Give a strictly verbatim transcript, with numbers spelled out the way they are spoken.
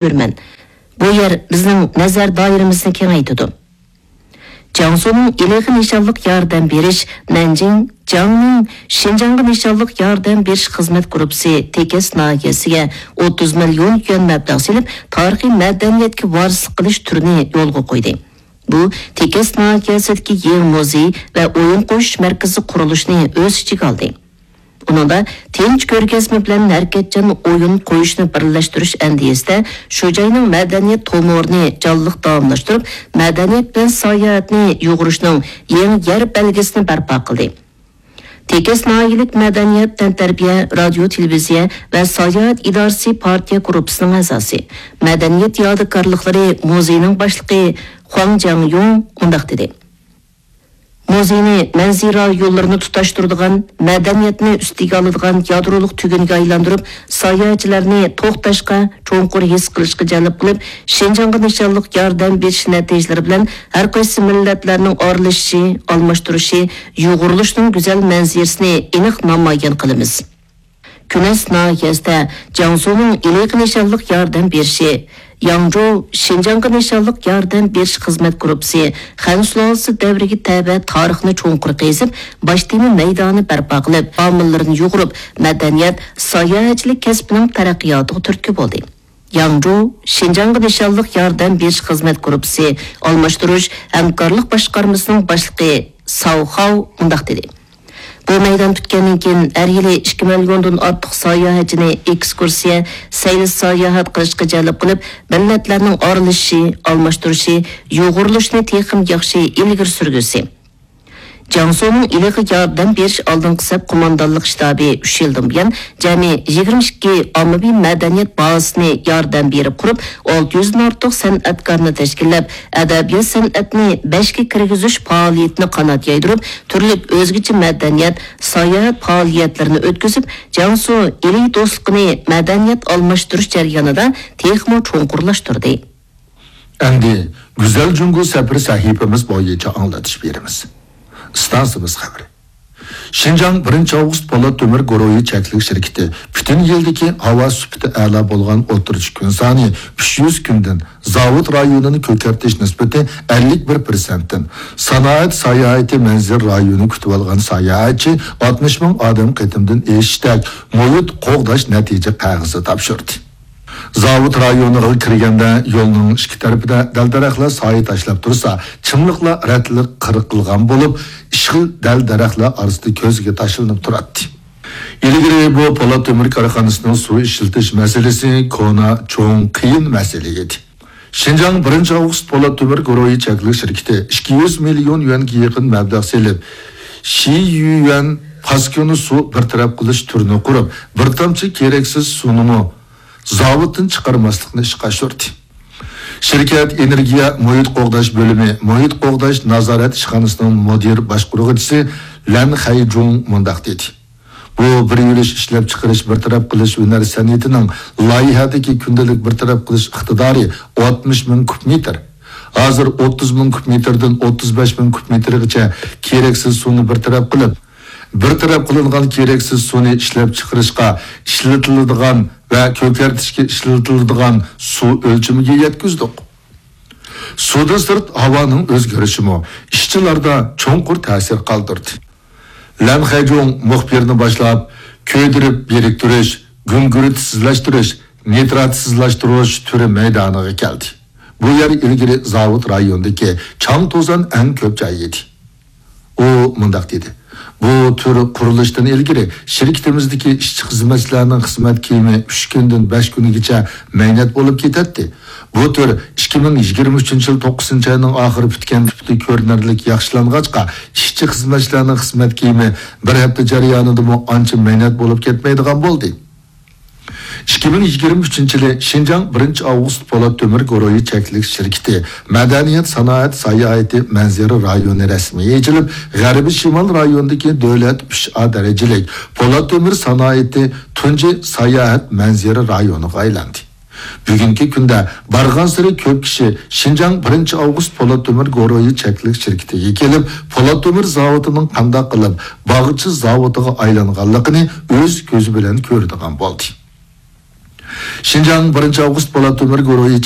كۆرىمەن. بۇ يەر بىزنىڭ نەزەر دائىرىمىزنى كېڭەيتىدۇ. جياڭسۇنىڭ ئىلىغا نىشانلىق ياردەم بېرىش نەنجىڭ، جياڭنىڭ شىنجاڭغا نىشانلىق ياردەم بېرىش خىزمەت گۇرۇپپىسى تېكەس ناھىيەسىگە ئوتتۇز مىليون يۈەن مەبلەغ سېلىپ، تارىخىي مەدەنىيەتكە ۋارىسلىق قىلىش تۈرىنى يولغا قويدى. بۇ تېكەس ناھىيەسىدىكى يېڭى مۇزېي ۋە ئويۇن قويۇش مەركىزى قۇرۇلۇشىنى ئۆز ئىچىگە ئالدى. ئۇنىڭدا تىنچ كۆرگەزمە بىلەن ھەرىكەتچان ئويۇن قويۇشنى بىرلەشتۈرۈش ئەندىزىسىدە شۇ جاينىڭ مەدەنىيەت تومۇرىنى جانلىق داۋاملاشتۇرۇپ، مەدەنىيەت بىلەن ساياھەتنى يۇغۇرۇشنىڭ يېڭى يەر بەلگىسىنى بەرپا قىلدى. تېكەس ناھىيەلىك مەدەنىيەت، تەنتەربىيە، رادىيو، تېلېۋىزىيە ۋە ساياھەت ئىدارىسى پارتىيە گۇرۇپپىسىنىڭ ئەزاسى، مەدەنىيەت يادىكارلىقلىرى مۇزېيىنىڭ باشلىقى خۇاڭ جياڭيۇڭ مۇنداق دېدى: مۇزېينى مەنزىرە رايونلىرىنى تۇتاشتۇرىدىغان، مەدەنىيەتنى ئۈستىگە ئالىدىغان يادرولۇق تۈگۈنگە ئايلاندۇرۇپ، ساياھەتچىلەرنى توختاشقا، چوڭقۇر ھېس قىلىشقا جەلپ قىلىپ، شىنجاڭغا نىشانلىق ياردەم بېرىش نەتىجىلىرى بىلەن ھەر قايسى مىللەتلەرنىڭ ئارىلىشىشى، ئالماشتۇرۇشى، يۇغۇرۇلۇشىنىڭ گۈزەل مەنزىرىسىنى ئېنىق نامايان قىلىمىز. كۈنەس ناھىيەسىدە جياڭسۇنىڭ ئىلىغا نىشانلىق ياردەم بېرىشى، ياڭجۇ شىنجاڭغا نىشانلىق ياردەم بېرىش خىزمەت گۇرۇپپىسى خەن سۇلالىسى دەۋرىگە تەۋە تارىخنى چوڭقۇر قېزىپ، باش تېما مەيدانى بەرپا قىلىپ، ئامىللىرىنى يۇغۇرۇپ، مەدەنىيەت، ساياھەتچىلىك كەسپىنىڭ تەرەققىياتىغا تۈرتكە بولدى. ياڭجۇ شىنجاڭغا نىشانلىق ياردەم بېرىش خىزمەت گۇرۇپپىسى ئالماشتۇرۇش ھەمكارلىق باشقارمىسىنىڭ باشلىقى ساۋ خاۋ مۇنداق دېدى: بۇ مەيدان پۈتكەندىن كېيىن، ھەر يىلى ئىككى مىليوندىن ئارتۇق ساياھەتچىنى ئېكسكۇرسىيە، سەيلە ساياھەت قىلىشقا جەلپ قىلىپ، مىللەتلەرنىڭ ئارىلىشىشى، ئالماشتۇرۇشى، يۇغۇرۇلۇشىنى تېخىمۇ ياخشى ئىلگىرى سۈرگۈسى. جياڭسۇنىڭ ئىلىغا ياردەم بېرىش ئالدىنقى سەپ قوماندانلىق شتابى ئۈچ يىلدىن بۇيان، جەمئىي يىگىرمە ئىككى ئاممىۋى مەدەنىيەت بازىسىنى ياردەم بېرىپ قۇرۇپ، ئالتە يۈزدىن ئارتۇق سەنئەتكارنى تەشكىللەپ، ئەدەبىيات سەنئەتنى بەشكە كىرگۈزۈش پائالىيىتىنى قانات يايدۇرۇپ، تۈرلۈك ئۆزگىچە مەدەنىيەت، ساياھەت پائالىيەتلىرىنى ئۆتكۈزۈپ، جياڭسۇ ئىلى دوستلۇقىنى مەدەنىيەت ئالماشتۇرۇش جەريانىدا تېخىمۇ چوڭقۇرلاشتۇردى. ئەمدى گۈزەل جۇڭگو سەپىرى سەھىپىمىز بويىچە ئاڭلىتىش بېرىمىز. ئىستانسىمىز خەۋىرى. شىنجاڭ بىرىنچى ئاۋغۇست پولات تۆمۈر گۇرۇھى چەكلىك شىركىتى پۈتۈن يىلدىكى ھاۋا سۈپىتى ئەلا بولغان ئوتتۇرىچە كۈن سانى ئۈچ يۈز كۈندىن، زاۋۇت رايونىنى كۆكەرتىش نىسبىتى ئەللىك بىر پىرسەنتتىن، سانائەت ساياھىتى مەنزىرە رايونى كۈتۈۋالغان ساياھەتچى ئاتمىش مىڭ ئادەم قېتىمدىن ئېشىشتەك مۇھىت قوغداش نەتىجە قەغىزى تاپشۇردى. زاۋۇت رايونىغا كىرگەندە يولنىڭ ئىككى تەرىپىدە دەل-دەرەخلەر سايە تاشلاپ تۇرسا، چىملىقلار رەتلىك قىرقىلغان بولۇپ، ئىشقىل دەل-دەرەخلەر ئارىسىدا كۆزگە تاشلىنىپ تۇراتتى. ئىلگىرى بۇ پولات تۆمۈر كارخانىسىنىڭ سۇ ئىشلىتىش مەسىلىسى كونا، چوڭ، قىيىن مەسىلە ئىدى. شىنجاڭ بىرىنچى ئاۋغۇست پولات تۆمۈر گۇرۇھى چەكلىك شىركىتى ئىككى يۈز مىليون يۈەنگە يېقىن مەبلەغ سېلىپ، شىيۈەن پاسكىنى سۇ بىر تەرەپ قىلىش تۈرىنى قۇرۇپ، بىر تامچە كېرەكسىز سۇنىمۇ زاۋۇتتىن چىقارماسلىقنى ئىشقا ئاشۇردى. شىركەت ئېنېرگىيە مۇھىت قوغداش بۆلۈمى مۇھىت قوغداش نازارەت ئىشخانىسىنىڭ مۇدىر باشقۇرغۇچىسى لەن خەيجۇڭ مۇنداق دېدى: بۇ بىر يۈرۈش ئىشلەپچىقىرىش بىر تەرەپ قىلىش ھۈنەر سەنئىتىنىڭ لايىھەدىكى كۈندىلىك بىر تەرەپ قىلىش ئىقتىدارى ئاتمىش مىڭ كۇب مېتىر. ھازىر ئوتتۇز مىڭ كۇب مېتىردىن ئوتتۇز بەش مىڭ كۇب مېتىرغىچە كېرەكسىز سۇنى بىر تەرەپ قىلىپ، بىر تەرەپ قىلىنغان كېرەكسىز سۇنى ئىشلەپچىقىرىشقا ئىشلىتىلىدىغان ۋە كۆكەرتىشكە ئىشلىتىلىدىغان سۇ ئۆلچىمىگە يەتكۈزدۇق. سۇدىن سىرت ھاۋانىڭ ئۆزگىرىشىمۇ ئىشچىلاردا چوڭقۇر تەسىر قالدۇردى. لەن خەجۇڭ مۇخبىرنى باشلاپ، كۆيدۈرۈپ بىرىكتۈرۈش، گۈڭگۈرتسىزلەشتۈرۈش، نىتراتسىزلاشتۇرۇش تۈرى مەيدانىغا كەلدى. بۇ يەر ئىلگىرى زاۋۇت رايونىدىكى چاڭ-توزان ئەڭ كۆپ جاي ئىدى. ئۇ مۇنداق دېدى: بۇ تۈر قۇرۇلۇشتىن ئىلگىرى شىركىتىمىزدىكى ئىشچى-خىزمەتچىلەرنىڭ خىزمەت كىيىمى ئۈچ كۈندىن بەش كۈنگىچە مەينەت بولۇپ كېتەتتى. بۇ تۈر ئىككى مىڭ يىگىرمە ئۈچىنچى يىل توققۇزىنچى ئاينىڭ ئاخىرى پۈتكەن تىپتا كۆرۈنەرلىك ياخشىلانغاچقا، ئىشچى-خىزمەتچىلەرنىڭ خىزمەت كىيىمى بىر ھەپتە جەريانىدىمۇ ئانچە مەينەت بولۇپ كەتمەيدىغان بولدى. ئىككى مىڭ يىگىرمە ئۈچىنچى يىلى شىنجاڭ بىرىنچى ئاۋغۇست پولات تۆمۈر گۇرۇھى چەكلىك شىركىتى مەدەنىيەت، سانائەت، ساياھىتى، مەنزىرە رايونى رەسمىي ئېچىلىپ، غەربىي شىمال رايونىدىكى دۆلەت ئۈچ ئا دەرىجىلىك پولات تۆمۈر سانائىتى تۇنجى ساياھەت مەنزىرە رايونىغا ئايلاندى. بۈگۈنكى كۈندە بارغانسېرى كۆپ كىشى شىنجاڭ بىرىنچى ئاۋغۇست پولات تۆمۈر گۇرۇھى چەكلىك شىركىتىگە كېلىپ، پولات تۆمۈر زاۋۇتىنىڭ قانداق قىلىپ باغچە زاۋۇتىغا ئايلانغانلىقىنى ئۆز كۆزى بىلەن كۆرىدىغان بولدى. شىنجاڭ بىرىنچى ئاۋغۇست پولات تۆمۈر گۇرۇھى